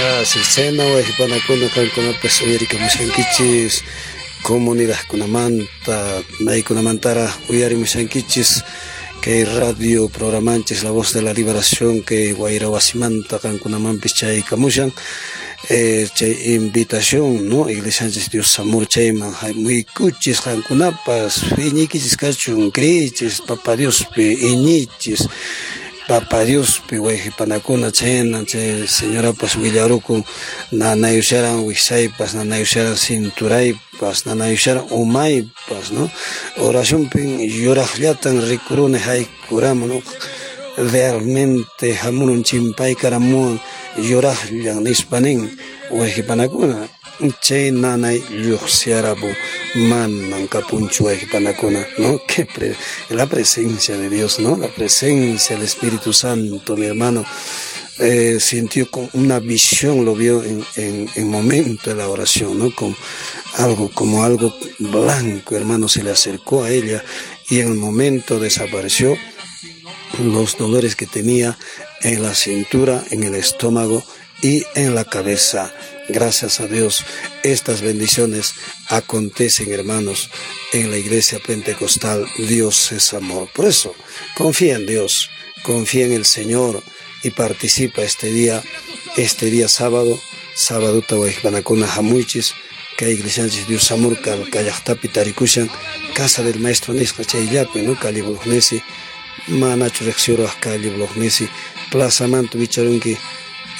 Así chayna wayqipanakuna qankunapas uyarikamushankichis comunidadkunamanta maykunamantaraq uyarimushankichis kay radio programanchis La Voz de la Liberación kay wayra wasimanta qankunamanpis chaykamushan chay invitación, ¿no? Iglesianchis Dios amor chayman hamuykuchis qankunapas iñiykichis kachun creeychis Papa Diospi iñiychis Papa Diospi wayqipanakuna chayna chay señorapas willarukun nanayusharan wiksaypas nanayusharan cinturaypas nanayusharan umaypas, ¿no? Oracionpin yuraqllatan rikuruni haykuramun, ¿no? Realmente hamurun chimpaykaramuwan yuraqllan nispa nin wayqipanakuna chay nanay lluqsiarapun manan kapunchu wayqipanakuna, ¿no? Que la presencia de Dios, ¿no? La presencia del Espíritu Santo, mi hermano, sintió con una visión, lo vio en momento de la oración, ¿no? Con algo, como algo blanco, hermano, se le acercó a ella y en el momento desapareció los dolores que tenía en la cintura, en el estómago y en la cabeza. Gracias a Dios, estas bendiciones acontecen, hermanos, en la iglesia pentecostal. Dios es amor. Por eso, confía en Dios, confía en el Señor y participa este día sábado, sábado wayqipanakuna hamuychis, kay iglesianchis Dios amor kallaqtapi tarikushan, casa del maestro nisqa chayllapi, ¿no? Calle Bolognesi, manachu riqsiruwaq calle Bolognesi, plazamanta wicharunki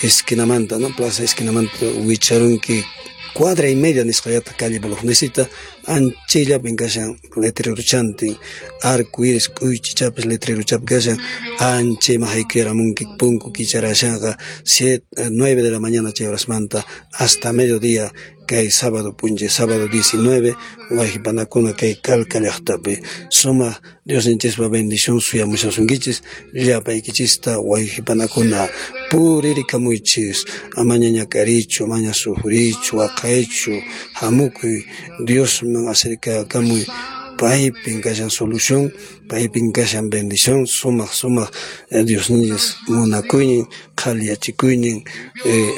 esquinamanta, ¿no? Plaza esquinamanta wicharunki cuadra y media nisqallata calle Bolognesita, anchayllapin kashan letreruchantin, arco iris k'uychichapas letreruchapi kashan, anchayman haykuyaramunki punku kicharashanqa 7, 9 de la mañana chay horasmanta hasta mediodía kay sábado p'unchay, sábado 19, wayqipanakuna kay Calca llaqtapi. Sumaq Diosninchispa bendición suyamushasunkichis llapaykichista wayqipanakuna puririkamuychis amaña ñak'ariychu amaña sufriychu waqaychu hamukuy Diosman acercakamuy paypin kashan solución, paypin kashan bendición, sumaq sumaq Diosninchis munakuynin qhaliyachikuynin,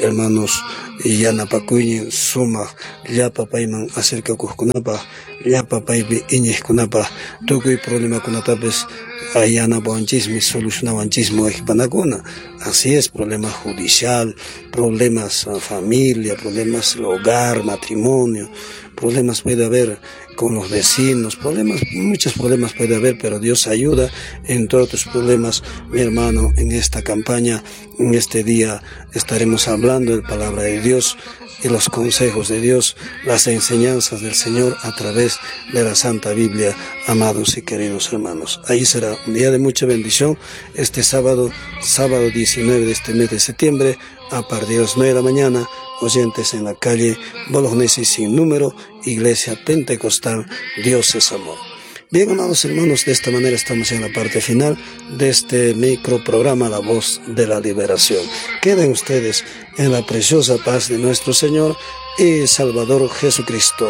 hermanos, yanapakuynin sumaq llapa payman acercakuqkunapaq llapa paypi iñiqkunapaq tukuy problemakunatapis yanapawanchismi solucionawanchismi wayqipanakuna. Así es, problema judicial, problemas familia, problemas hogar, matrimonio, problemas puede haber con los vecinos, problemas, muchos problemas puede haber, pero Dios ayuda en todos tus problemas, mi hermano. En esta campaña, en este día, estaremos hablando de la palabra de Dios y los consejos de Dios, las enseñanzas del Señor a través de la Santa Biblia, amados y queridos hermanos. Ahí será un día de mucha bendición, este sábado, sábado 19 de este mes de septiembre, a partir de las 9 de la mañana, oyentes en la calle Bolognesi sin número, Iglesia Pentecostal, Dios es Amor. Bien, amados hermanos, de esta manera estamos en la parte final de este microprograma La Voz de la Liberación. Queden ustedes en la preciosa paz de nuestro Señor y Salvador Jesucristo.